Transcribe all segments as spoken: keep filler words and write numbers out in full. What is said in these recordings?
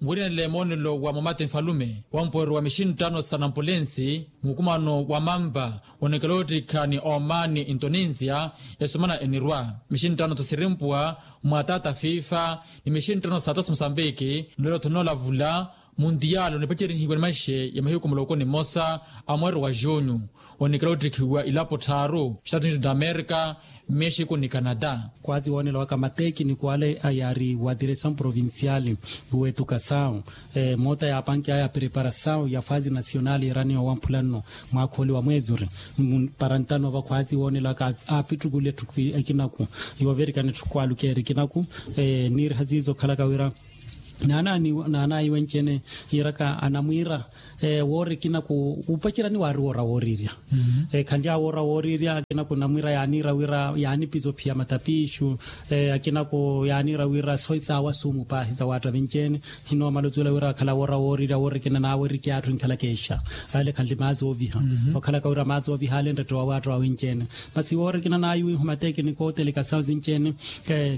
Nwirinele moonelo wa momate nfalume wa mpoorero wa mixinttano sa nampulensi, mukumano wa mampa onekela ottikha ni omaani ntoninsiya esumana enirwa mixinttano sa sirimpuwa mwa taata fifa ni mixinttano sa taata sa mosambiki. Nlelo thonoolavula muntiyalo nipacerihiwe ni manxe ya mahiku muloko ni mmosa a mweero wa junyu. Onikela ottikhiwa ilapo tthaaru estados unidos da amerika, mexico ni canada. Khwazi woonela waka matekiniko ale yaari wa diresaw provincial wetukasaw moota yaapanke aya preparasaw ya fazi nasional yiraniwa wamphula nno mwaakhooli wa mweezuri. Para ntano va khwazi woonela waka aapittukule etthu ekinaku yoovirikana etthu khwaalukeeri ekinaku niiriha ziizo okhalaka wira naanaayi wenci-ene yiiraka anamwiira woori ekinaku wuupacerya ni waari woora wooriirya. Khanlyaawo woora wooriirya akinaku namwiira yaaniira wira yaanipiza ophiya matapiixu akinaku yaaniira wira sooyi saawa suumu paahi sawaatta vinci-ene. Hinoomala ozuwela wira akhala woora wooriirya woori ekina naawe erikhi atthu enkhalaka exa ale khanli maazi ooviha okhalaka wira maazi ooviha ale nrettewa waatta wa winci-ene. Masi woori ekina naayiwiiho matekiniko otelekasawu sinci-ene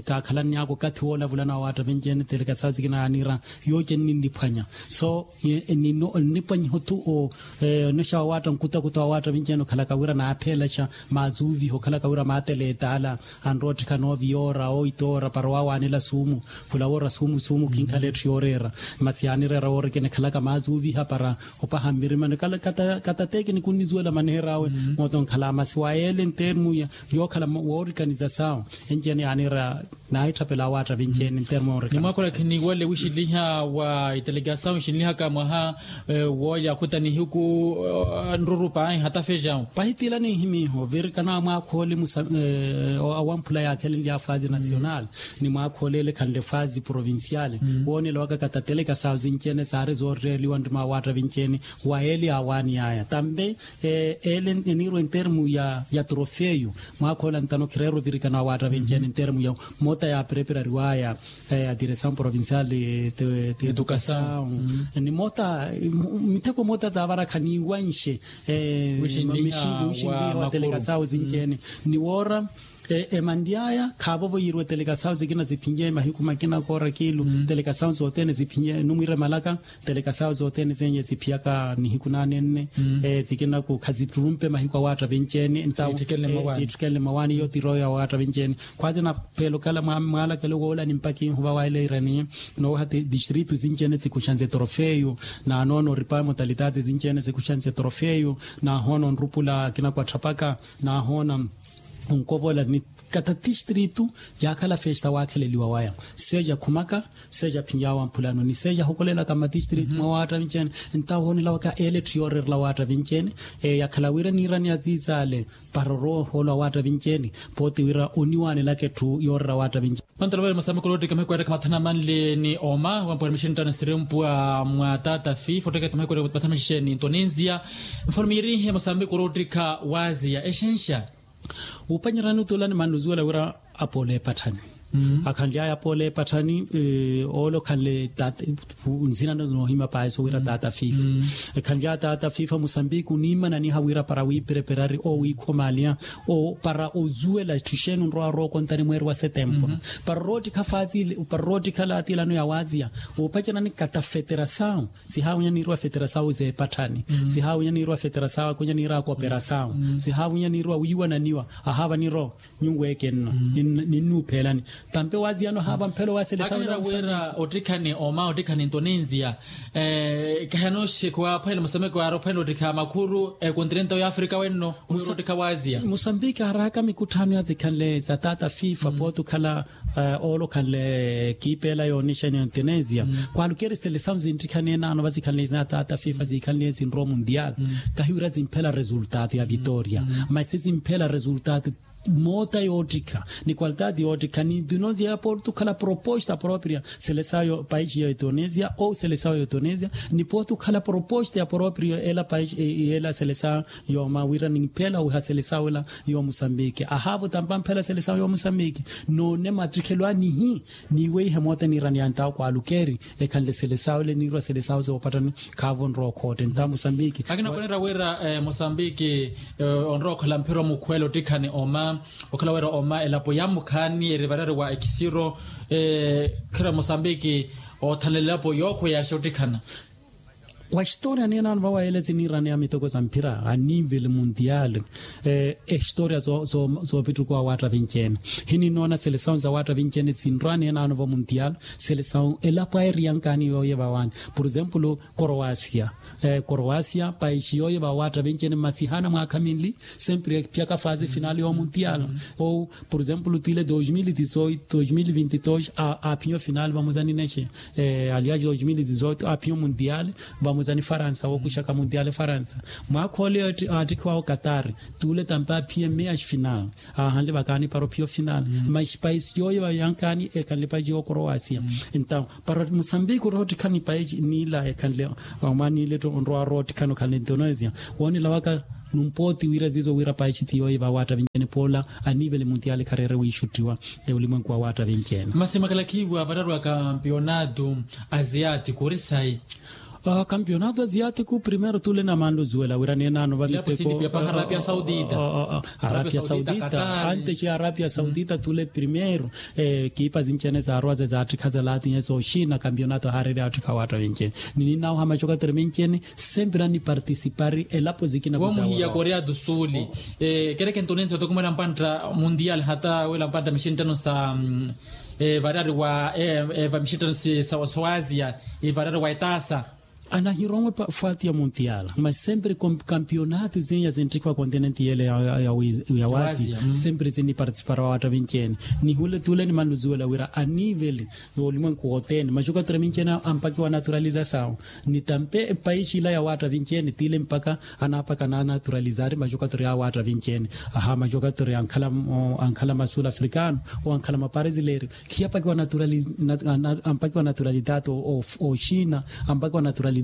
kaakhalanny'aka okathi woolavulana wawaatta vinci-ene telekasawu sikina yaaniira yooce nninniphwanya so nnipwanyiha othu onexa wawaatta nkutakuta wawaatta vinci-ene okhalaka wira naapheelaxa maazuuviha okhalaka wira maatela etaala anrowa ottikhana ooviyoora ooitoora para owaawanela suumu khula woora suumu suumu khinkhala etthu yooreera. Masi yaanireera woori ekina ekhalaka maazuuviha para opaha mmirimani kata tekiniko nnizuwela maneher'awe moota onkhala masi wa yeele ntermu yookhala woorikanizasawu enci-ene yaaniira naahitthapela awaatta vinci-ene ntermu yoorikanizasawu. Ni mwaakhola khiniwale wixiliha wa itelegasawu ixilihaka mwaha woolya akhuta nihiku nruru paahi hatafejawu. Pahitiila ninhimiiho virikana wa mwaakhooli awamphula yaakhelenlya fazi nasional ni mwaakhooli ele khanle fazi provincial woonela waka katatelekasawu sinci-ene saari zoorreeliwa nrima awaatta vinci-ene wa ele awaani aya tambe ele eniirwa entermu ya trofeyu mwaakhooli antano khireera ovirikana awaatta vinci-ene entermu ya moota yaapereperariwaya ya diresaw provincial tetukasaw ni moota mitheko moota zaavarakha niiwanxe wixinliha watelekasaw sinci-ene ni woora emanly'aya khaavovo yiiriwa etelekasaw sikina ziphinye mahiku makina koora kiilu telekasaw sothene ziphinye numwiire malaka telekasaw sothene zenye ziphiyaka nihiku naanenne sikinaku khazirumpe mahiku awaatta vinci-ene ntawo ziitthikenle mawaani iyo tiroyo awaatta vinci-ene. Khwazi napheela okhala mwaalakelo woola ni mpakha ihuva waeleerani nooha distritu sinci-ene zikuxanse trofeyu naanoona oripa motalitaati sinci-ene zikuxanse trofeyu naahoona onrupula akinaku atthapaka naahoona onkovola ni kata tistritu yaakhala festa waakheleliwa waya seja khumaka seja phinyawa mphulano ni seja hokolelaka mmatistritu mwa waatta vinci-ene. Ntawo hoonela waka ele etthu yooreerela waatta vinci-ene yakhala wira niirani aziizaale para oroohoolwa waatta vinci-ene pooti wira oniwaanelaka etthu yooreera waatta vinci-ene. Mantala ovale mosambiki oloottika mahiku eettaka mathanu amanle ni oma wampwera mixinttano sirimpwa mwa taata fifa otteketta mahiku eettaka mathanu maxixeni nto ninziya mfano miirihe mosambiki oloottika waaziya exenxa. Wuupanyerani otuula ni mannuzuwela wira apoola epatthani akhanly'aya apoola epatthani oole okhanle nzina noohima paahi sowira taata fifa ekhanly'aya taata fifa mosambiki oniimananiha wira para wiipereperari owiikhomaliha para ozuwela etthu exeeni onrowa orookontani mweeri wa setempu para oroottikha faatile para oroottikha laatiilano ya waaziya wuupacerani kata feterasawu sihaawinya niiriwa feterasawu zeepatthani sihaawinya niiriwa feterasawu akwinya niiriwa koperasawu sihaawinya niiriwa wiiwananiwa ahaava niiro nyuweeke nno ninnuupheelani tampe waaziyano ahaava mphelo waaselesawu wira ottikhani oma ottikhani nto ninziya kahi anooxekhuwa aphwanela musameko yaari ophwanela ottikha makhuru ekontinenta ya afrika wenno ottikha waaziya musambiki aaraka mikutthano yazikhanle za taata fifa pooti okhala oolo okhanle kiipeela yoonixani ya indonesia khwaalukeeri selesawu zinttikhani enaano vazikhanle za taata fifa ziikhanle zinrowa mundial kahiwira zimphela resultato ya vitoria masi zimphela resultato moota yoottikha ni qualitati yoottikha ni indonesia pooti okhala proposta propria selesawu paixi ya indonesia ou selesawu ya indonesia ni pooti okhala proposta ya propria ela paixi ela selesawu yooma wira nimphela wiha selesawu ela yo musambiki ahaavo tampa mphela selesawu yo musambiki noone mattikhelo anihi niiweihe moota niirani yantawo kwaalukeeri ekhanle selesawu ele niirwa selesawu zoopattani khaavo nrowa okhootte nta musambiki akina khunira wira musambiki onrowa okhala mphira omukhwela ottikhani oma okhala wira oma elapo ya mukhaani erivarari wa ekisiro khira musambiki oothanela elapo yookhweyaxa ottikhana. Wa historiya niinaano vawa yele siniiraneya miteko sa mphira a nivel mundial. Ehistoriya soopittuku awaatta vinci-ene. Hininoona selesawu sawaatta vinci-ene sinrwa niinaano va mundial. Selesawu elapo ayi eriyankaani yooye vawanya, por exemplo, koroasia. Koroasia paixi yooye vawaatta vinci-ene masi haana mwaakha minli, sempre epyaka fase final yoomundial. Ou por exemplo twiile dos mil e dezoito, dos mil e vinte e dos, aphinya ofinal vamosa ninexe. Aliya dos mil e dezoito aphinya omundial vamosa ni faransa wookuxaka mundial faransa. Mwaakha ole aattikhiwawe okatar, tuule tampe aphiye meas final. Aahanle vakaani para ophiya ofinal. Mas paisi yooye vayankaani ekhanle paisi yookoroasia. Entaw para musambiki orowa ottikhana ni paisi niila ekhanle, omwaaniile tto onrowa orowa ottikhana okhanle indonesia. Woonela waka numpooti wira ziizo wira paisi ti yooye vawaatta vinci-ene poola a nivel mundial khareere wiixuttiwa. Olimwenku wawaatta vinci-ene. Masi makhalakhiwa vararu a kampionato asiatiku ori sayi? Kampionato asiatiku primeiro tuule namanle ozuwela wira neenaano va miteko. Arapia saudita. Arapia saudita antes ya arapia saudita tuule primeiro. Kiipa sinci-ene zaarowa ze zaattikha zalaatu nyeso oxina kampionato haareere aattikha awaatta vinci-ene. Nininawo ha maxokatore vinci-ene. Sempre anipartisipari elapo zikina. Womuhiya korea do sul. Kereke ntonense otokumela mpantta mundial hata wela mpantta mixinttano sa vararu wa mixinttano sa wasia. Ivararu wa etaasa. Anahirowe fwati ya mundial mas sempre kampionato zeya zinttikhiwa kontinenti yele ya wasia. Sempre zinipartisipara awaatta vinci-ene. Nihule tuule nimanle ozuwela wira a nivel yoolimwenku wothene maxokatore vinci-ene ampakiwa naturalizasawu. Ni tampe paisi ila yawaatta vinci-ene tiile mpakha anaapaka anaanaturalizari maxokatore awaatta vinci-ene. Aha maxokatore ankhala ma sul africano ou ankhala ma paresilerio. Khiyapakiwa ampakiwa naturalidade oxina, ampakiwa naturalidade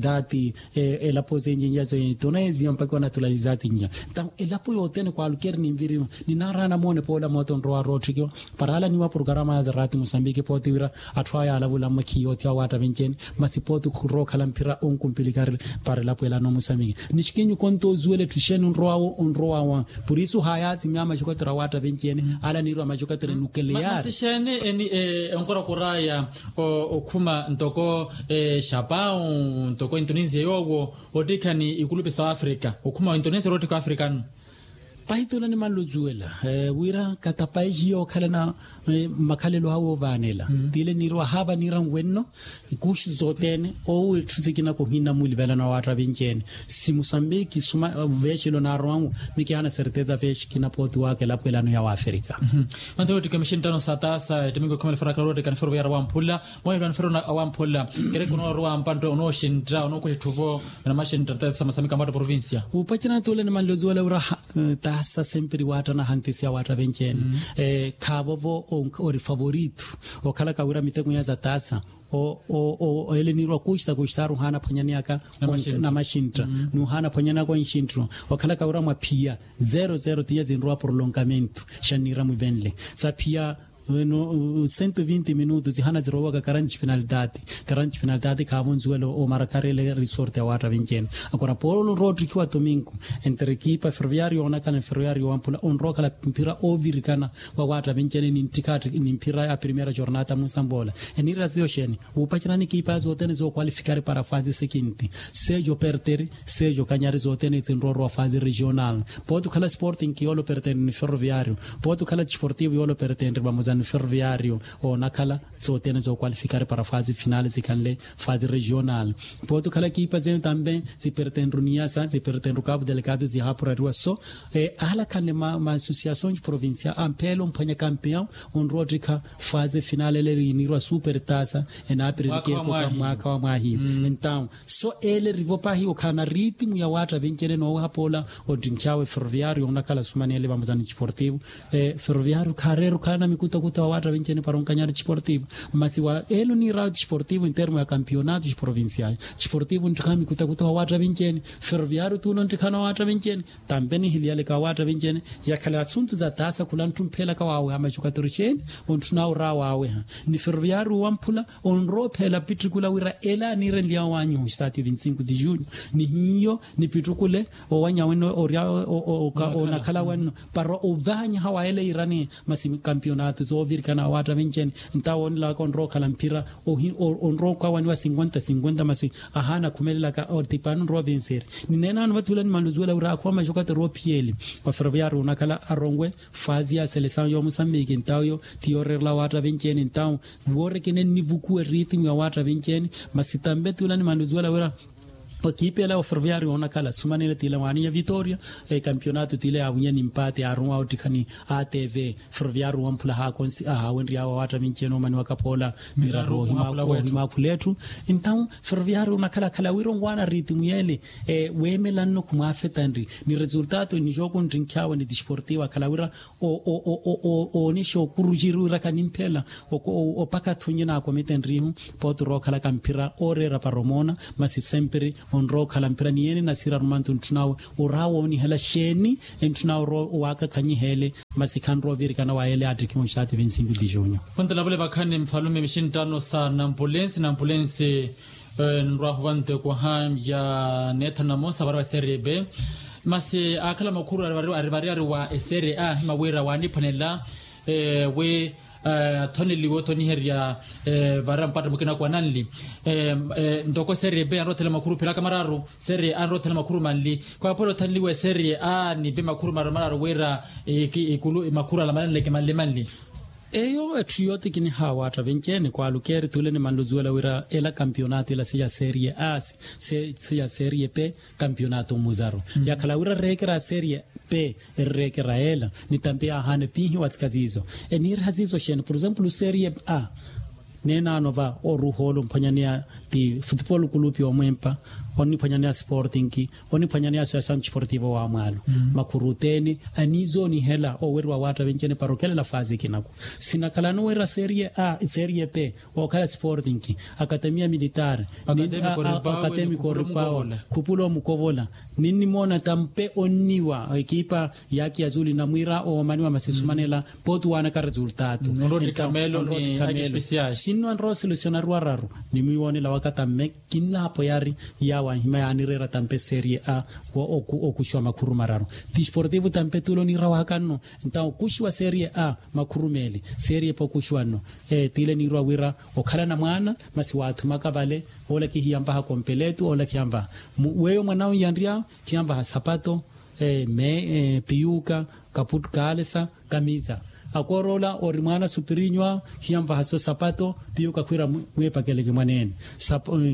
elapo zenjinja zentonesia ampakiwa naturalidade nja. Entaw elapo yothene kwalukeri ninviriwa. Ninaaraha namoone poola moota onrowa roottikiwa. Para alaniwa porokarama ya zaraati musambiki pooti wira atthu aya alavula mmakhiya othi awaatta vinci-ene. Masi pooti khurrowa okhala mphira onkumpilikari para elapo ela no musambiki. Nixikinyu konto ozuwela etthu xeeni onrowawo onrowawa. Por isu hayaatsi mya maxokatore awaatta vinci-ene. Ala niirwa maxokatore nukeleyari. Masi xeeni eni onkorakoraya okhuma ntoko xapau ntoko intonesia yoowo ottikhani ikulupe sa afrika okhuma intonesia oroottikha afrikano. Pahi tuula nimanle ozuwela wira kata paisi yookhalana makhalelo awe ovaanela. Tiile niirwa haava niira nwenno. Ikuxi zothene owo etthu sikina kohinna mulivelana awaatta vinci-ene. Si musambiki suma vexilo naarowanwu. Mikihaana certeza vexi kinapooti waka elapo elano ya waafrika. Manto wettikha mixinttano sa taasa ettimiki okhumela ferro ya karowa ottikha ni ferro ya rawamphula. Mwaahilwa ni ferro awamphula. Kereke onooruwa mpanto onooxintta onookuxa etthuvo. Namaxintta taasa masamika mwatta provincia. Upacerana tuule nimanle ozuwela wira taasa sempre waattana hantisi awaatta vinci-ene. Khaavovo ori favorito okhalaka wira miteko ya za taasa. Ele niirwa kuxita kuxitaaru ohaana aphwanyaneyaka namaxintta nuhaana aphwanyanaka onxinttiro. Wakhalaka wira mwaphiya zero zero tinya zinrowa prolongamento. Xanniira mwivenle saphiya cento vinti minutu zihana zirowaka karanti penalidade. Karanti penalidade khaavo nzuwelo omarakareele risorte awaatta vinci-ene. Akora polo onrowa ottikhiwa tominku entre ekipa ferroviario onakhala ni ferroviario wamphula onrowa okhala mphira oovirikana. Wawaatta vinci-ene ni mphira ya primeira jornata munsamboola. Eniira ziyo xeeni? Wuupacerani ekipa zothene zookwalifikari para fase sekinti. Sejo perteri sejo kanyari zothene zinrowa orowa fase regional. Pooti okhala sporting yoolo perteri ni ferroviario. Pooti okhala disportivo yoolo perteri vamosa ni ferroviario. Oonakhala zothene zookwalifikari para fase final zikhanle fase regional. Pooti okhala ekipa zene tambe zipertenru niyasa zipertenru kapu delegado zihaapurariwa so. Ahalakhanle ma associações provincial ampheela omphwanya campeão onrowa ottikha fase final ele eri yiniirwa super tasa. Enaapiririke epoka mwaakha wa mwaahiyo. Entaw so ele erivo pahi okhala na ritimu ya waatta vinci-ene nooweha poola. Ottinkhawe ferroviario onakhala sumanele vamosa ni disportivo. Ferroviario khaareera okhala na mikutakuta wa waatta vinci-ene para onkanyari disportivo. Masi wa ele oniirawe disportivo entermo ya campeonato provincial. Disportivo onttikhawe mikutakuta wa waatta vinci-ene. Ferroviario tuula onttikhana wa waatta vinci-ene. Tampe nihiliyaleka wa waatta vinci-ene. Yakhala asuntu za taasa khula nttumphela ka waaweha maxukatori xeeni. Ontthunawe oraawe waaweha ni ferroviario wamphula. Onrowa opheela pittukula wira ele aniirenliya owanyiha ostadio vinti cinco de junho. Nihiyo nipittukule owanya wenno orya onakhala wenno. Para ovaanyaha wa ele yiirani masi campeonato. zoovirikana awaatta venci-ene. Ntawo onilawaka onrowa okhala mphira onrowa okawaniwa sinkwenta sinkwenta masi ahaana akhumelelaka otipani onrowa ovinsiri. Nineena ano vathi ula nimanle ozuwela wira akhuwa maxokatero ophiyeli. Oferoviari onakhala aronwe faazi ya selesawu yoomusammiki ntawo yo ti yooreerela awaatta venci-ene ntawo. Woorekene nnivukuwa eritimu ya awaatta venci-ene masi tampe ti ula nimanle ozuwela wira okiipeela oferoviari onakhala sumanene tile waaninya vitoria. Ekampionato tile yaawinya nimpaati aaruwa ottikhani atv. Ferroviario wamphula haakonsi ahaawenry'awe awaatta vinci-ene omaniwaka poola miraru ohimaakhula etthu. Entawu ferroviario onakhalakhala wira onwaana ritimu yeele weemelanno khumwaafetanri ni resultato ni jooku nttinkh'awe ni disportivo akhala wira oonixa okuruxiri wira kanimphela opaka thunye naakomitenrihu. Pooti orowa okhalaka mphira ooreera para omoona masi sempiri onrowa okhala mphira ni yeene nasiira arumantu ntthun'awe oraawoonihela xeeni? Entthun'awe orowa owaakakhanyiheele masi khanrowa ovirikana wa yeele yaattikhiwa onxaati vinsingu di junho. Khuntalavule vakhani mfalume mixinttano sa nampulensi nampulensi nrwahu vantekoha ya neetha namosa vara wa serie b. Masi aakhala makhuru ari vari ari wa eserie a hima wira waaniphwanela wi athoneliwe othoniherya vara mpatta mukina kwananli ntoko serie b anrothela makhuru philaka mararu serie a anrothela makhuru manli. Khwaaphola othoneliwe serie a ni b makhuru mararu mararu wira ikulu makhuru ala mananleke manli manli. Eyo etthu yooti kiniha awaatta vinci-ene kwaalukeeri tule nimanle ozuwela wira ela kampionato ela siya serie a siya serie b kampionato muzaru yakhala wira reekera serie b erreekera ela ni tampe yaahaana epiihiwa tsika ziizo. Eniiriha ziizo xeeni por exemplo serie a neenaano va oruha ole omphwanyaneya ti futupolo kulupi omwempa oniphwanyaneya sporting oniphwanyaneya associasawu sportivo wa mwaalo makhuru othene aniizoonihela oweriwa awaatta vinci-ene para okelela faazi ikinaku. Sinakhalani wira serie a serie b ookhala sporting akatemiya militaare akatemiko oripawe khupula omukovola ninnimoona tampe onniwa ekipa yaki yazuli namwiira oomaniwa masi sumanela pooti waanaka resultato. Sinno anrowa selesionariwa araru ni mwiiwoonela waka tamme kinnaapoyari yaawo anhima yaanireera tampe serie a okuxiwa makhuru mararu disportivo tampe tulo niira wakanno ntawo okuxiwa serie a makhuru meeli serie b okuxiwa nno. Tiile niirwa wira okhalana mwaana masi waathumaka vale oolakihiya mpaha kompeletu oolakiha mpaha weyo mwan'awe yanrya khiya mpaha sapato me piyuka kaputu kaalesa kamisa akooroola ori mwaana supirinywa khiya mpaha so sapato piyuka khwiira mwiipakeleke mwaneene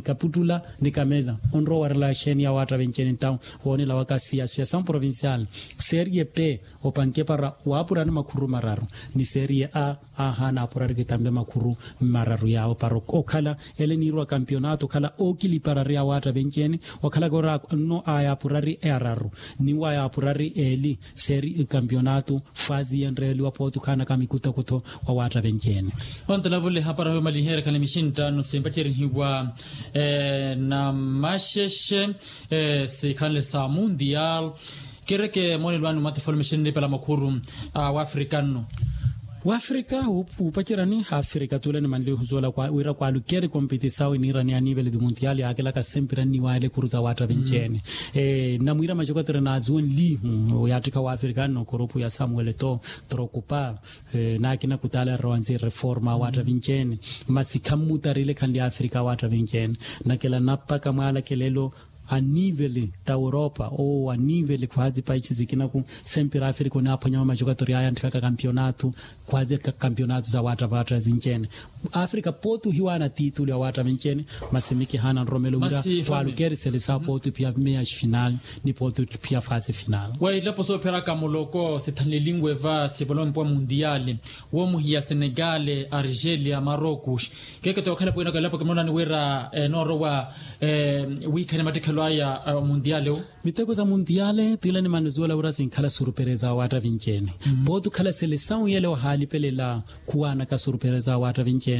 kaputula ni kamesa onrowa owarela xeeni ya waatta vinci-ene ntawo woonela waka siyaso ya san provincial serie b opanke para waapurani makhuru mararu ni serie a aahaana apurari kitambe makhuru mararu yaawo para okhala ele niirwa kampionato okhala ookiliparari awaatta vinci-ene okhalaka ora nno aya apurari araru ni waya apurari eli serie kampionato faazi yenreeliwa pooti okhaanaka mikutokutho wa waatta vinci-ene. Ontalavule hapara yomaliheerekhana mixinttano simpatterihiwa namaxexe sikhanle sa mundial. Kereke moonelwani mwatifolo mixinripela makhuru a wafrika nno wafrika wuupacerani hafrika tule ni manlihu zoola wira kwaalukeeri kompetisawu iniirani ya nivele di mundial yaakelaka sempira nniwaayela ekuru za waatta vinci-ene. Namwiira maxokotero naazuwenlihu yaattikha wafrika nno kurupu ya samuel to trokupa naakina kutaala errowa nsi reforma awaatta vinci-ene masi khammutarile khanli afrika awaatta vinci-ene. Nakela nappaka mwaalakelelo anivele ta europa owo anivele khwaazi paici zikinaku sempira afrika onaaphwanyawa macokatori aya antthikaka kampionato khwaazi kampionato za waatta waatta zinci-ene. Afrika pooti ohiwaana titulu ya waatta vinci-ene masi mikihaana nromelo wira khwaalukeeri selesawo pooti ophiya meya final ni pooti ophiya fase final. Wa ilapo soopheraka muloko sithanlelinwe va sivolompo wa mundiale woomuhiya senegale argelia marocos. Keke tookhala pwinaka elapo kimoonani wira enoorowa wiikhane mattikhelo aya mundiale wo. Miteko za mundiale tila ni manuzuwela wira sinkhala surupereza wa waatta vinci-ene pooti okhala selesawu yele wahaalipelela khuwaanaka surupereza wa waatta vinci-ene.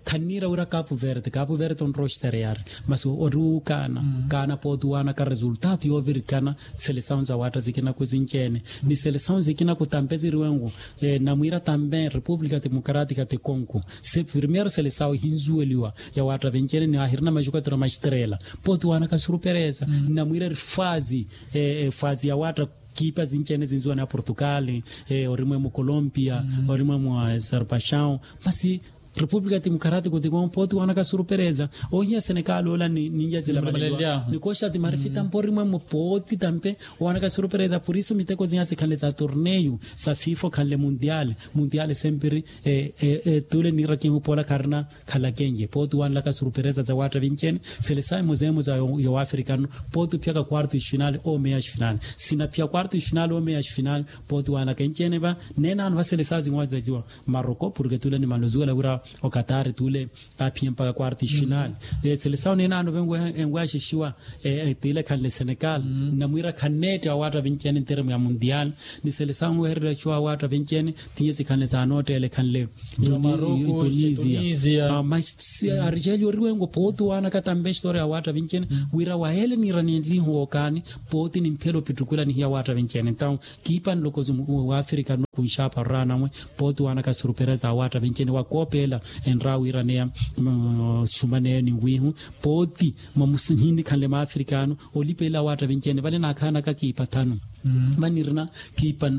Khanniira wira kapu verde kapu verde onrowa oxitereyari masi ori wuukaana kaana pooti owaanaka resultato yoovirikana selesawu za waatta zikinaku zinci-ene ni selesawu zikinaku tampe ziriwenku. Namwiira tampe república democrática de congo se primeiro selesawu ehinzuweliwa ya waatta vinci-ene ni ahirina maxukatura maxiterela pooti owaanaka surupereza. Namwiira eri faazi faazi ya waatta kiipa sinci-ene sinsuwa ni aportugali, orimwe mu colombia, orimwe mu aserbaixaw, masi repúblika demokarátiko tikomu pooti waanaka surupereza. Ohiya senekali ola ni nyazi la malelyahu ni koxa ti marifita mporimwe mu pooti tampe, waanaka surupereza purisu miteko sinya sikhanle sa torneyu sa fifa okhanle mundiale mundiale sempiri. Tule niirakihu poola kharina khalakenye pooti wanlaka surupereza za waatta vincene. Selesayi muzemuza ya waafrikano pooti ophiyaka quarto ifinale omeya ifinale sinaphiya quarto ifinale omeya ifinale. Pooti wanlaka incene va neenano va selesayi zinwazaziwa maroko porke tule ni manozuwela wira okatari tule aphiye mpaka quarto ifinale. Selesayi neenano venweya enweya xixiwa tile khanle senegal namwira khanneette awaatta vincene nteremu ya mundiale. Ni selesayi nwehererya xixiwa awaatta vincene tinye sikhanle saanootteele khanle tunisia. Arixeli oriwengo pooti waanaka tampe histori ya waatta vincene wira waheele niira nenlihu wookaani pooti ni mphela opittukula nihiya waatta vincene ntawu kiipa nloko waafrika nno kunxaapa oraanamwe. Pooti waanaka surupereza awaatta vincene wakoopeela enra wiiraneya sumaneyo ni wiihu pooti mwamusihinikhanle maafrikano olipelela awaatta vincene vale naakhaanaka kiipa thanu. Vanirina kiipa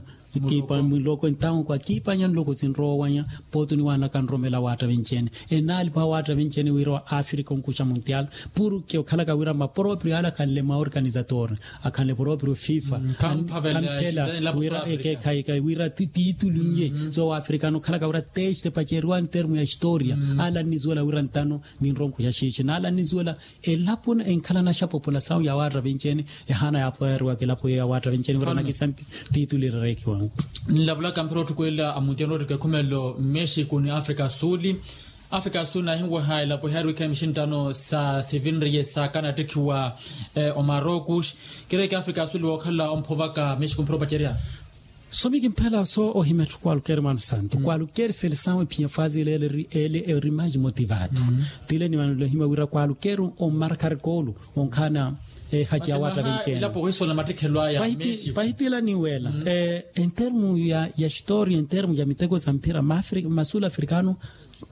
kiipa muloko entawu kwa kiipanya nloko sinroowanya. Pooti oniwanaka nromela awaatta vincene enaalipa awaatta vincene wira wa afrika onkuxa mundial. Puru ke okhalaka wira maporoprio ale akhanle maorganizator akhanle poroprio fifa khanphela wira ekekhaika wira titulu nye so wa afrikano okhalaka wira teste paceriwani termu ya historia. Ala nnisuwela wira ntano ninronkuxa xiixi naala nnisuwela elapo enkhalana xa populasawu ya waatta vincene ehaana yaapoyariwaka elapo yeyo ya waatta vincene wira nakisampi titulu irerekiwanga. Nlavulaka mphira otthukwela amundial nootteka ekhumelelo mmexico ni afrika suli. Afrika suli naahinweha elapo ehaariwikha mixinttano sa sivinriye saakana attikhiwa omarokus. Kireeke afrika suli wookhala omphovaka mmexico mphira opacerya. Somi kimphela so ohima etthu kwalukeri mwaano santu kwalukeri selesawu ephiya faazi ele ele eri maji motivatu. Tile ni mwaano lohima wira kwalukeri ommarkari koolu onkhaana ehaci ya waatta vencene. Pahitila niwela entermu ya historia entermu ya miteko sa mphira masul afrikano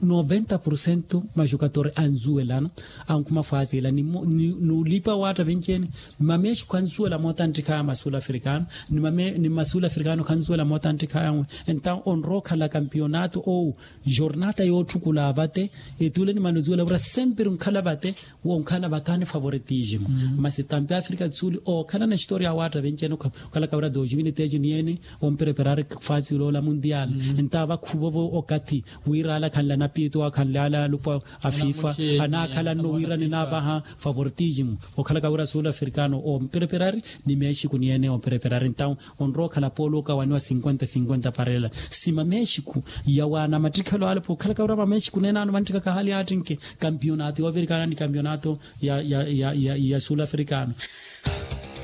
noventa porcento majukatori ansuwelana ankhuma fwaziila ni olipa waatta vencene. Mamexico ansuwela moota anttikhaaya masul afrikano ni masul afrikano khansuwela moota anttikhaaya nwe. Entawu onrowa okhala kampionato ou jornata yootthukulaa vate etule ni manosuwela wira sempiri onkhala vate wonkhala vakani favoritismo. Masi tampi afrika suli ookhalana historia awaatta vencene okhalaka wira dos mil tejiniene ompereperari fasi oloola mundial. Entawo vakhuvovo okathi wira ala akhanle anapiito akhanle ala alupwa a fifa anaakhala nno wira ninaavaha favoritismo okhalaka wira sul africano ompereperari ni mexico niene ompereperari entawo onrowa okhala poolo okawaniwa cinquenta cinquenta parela si mamexico yawaana mattikhelo ale pokhalaka wira mamexico nenaano vanttikaka hali attinke kampionato yoovirikana ni kampionato ya sul africano.